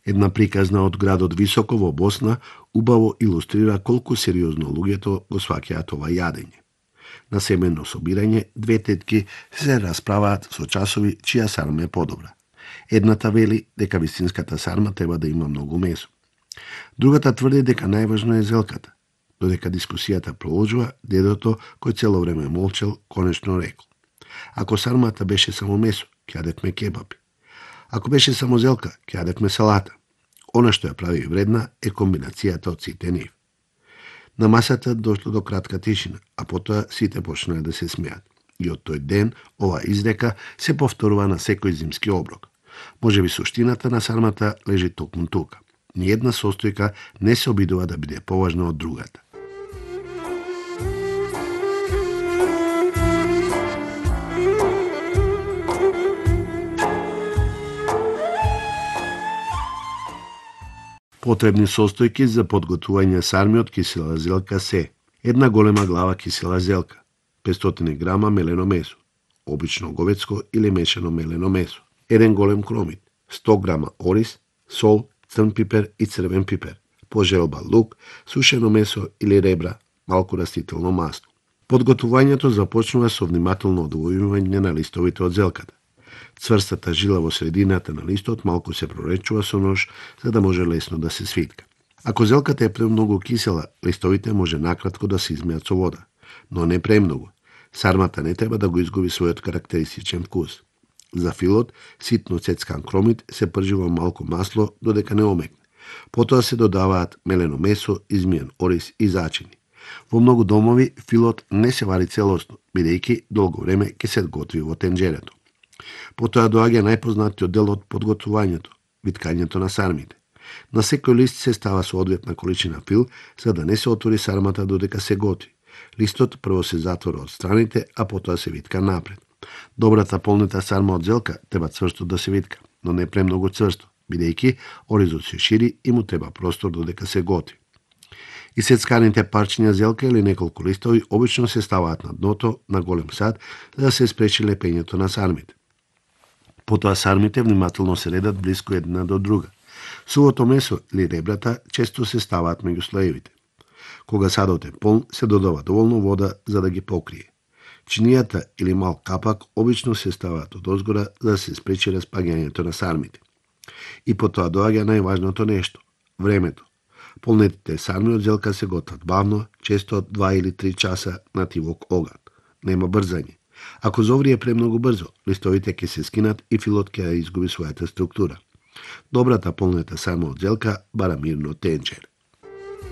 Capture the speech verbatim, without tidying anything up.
Една приказна од градот Високо во Босна убаво илустрира колку сериозно луѓето го сваќаат ова јадење. На семено собирање две тетки се расправаат со часови чија сарма е подобра. Едната вели дека вистинската сарма треба да има многу месо. Другата тврди дека најважно е зелката. Додека дискусијата проложува, дедото, кој цело време молчел, конечно рекол: ако сармата беше само месо, ќе јадевме кебапи. Ако беше само зелка, ќе јадевме салата. Она што ја прави вредна е комбинацијата од сите нив. На масата дошло до кратка тишина, а потоа сите почнале да се смеат. И од тој ден ова изрека се повторува на секој зимски оброк. Можеби суштината на сармата лежи токму тука. Ниједна состојка не се обидува да биде поважна од другата. Потребни состојки за подготвување сарми од кисела зелка се: една голема глава кисела зелка, петстотини грама мелено месо, обично говедско или мешано мелено месо, еден голем кромит, сто грама ориз, сол, црн пипер и црвен пипер, по желба лук, сушено месо или ребра, малку растително масло. Подготвувањето започнува со внимателно одвојување на листовите од зелката. Цврстата жила во средината на листот малку се проречува со нож, за да може лесно да се свитка. Ако зелката е премногу кисела, листовите може накратко да се измеат со вода, но не премногу. Сармата не треба да го изгуби својот карактеристичен вкус. За филот, ситно цецкан кромит се пржи во малку масло додека не омекне. Потоа се додаваат мелено месо, измиен ориз и зачини. Во многу домови филот не се вари целосно, бидејќи долго време ќе се готви во тенџерето. Потоа доаѓа најпознатиот дел од подготвувањето – виткањето на сармите. На секој лист се става соодветна количина фил, за да не се отвори сармата додека се готви. Листот прво се затвора од страните, а потоа се витка напред. Добрата полнита сарма од зелка треба цврсто да се витка, но не премногу цврсто, бидејќи оризот се шири и му треба простор додека се готви. Исецканите парчиња зелка или неколку листови обично се ставаат на дното на голем сад за да се спречи лепењето на сармите. Потоа сармите внимателно се редат блиску една до друга. Сувото месо или ребрата често се ставаат меѓу слоевите. Кога садот е полн, се додава доволно вода за да ги покрие. Чинијата или мал капак обично се ставаат од озгора за да се спречи распаѓањето на сармите. И потоа доаѓа најважното нешто – времето. Полнетите сарми од зелка се готват бавно, често од два или три часа на тивок оган. Нема брзање. Ако зоврие премногу брзо, листовите ќе се скинат и филот ќе изгуби својата структура. Добрата полнета сарма од зелка бара мирно тенџер.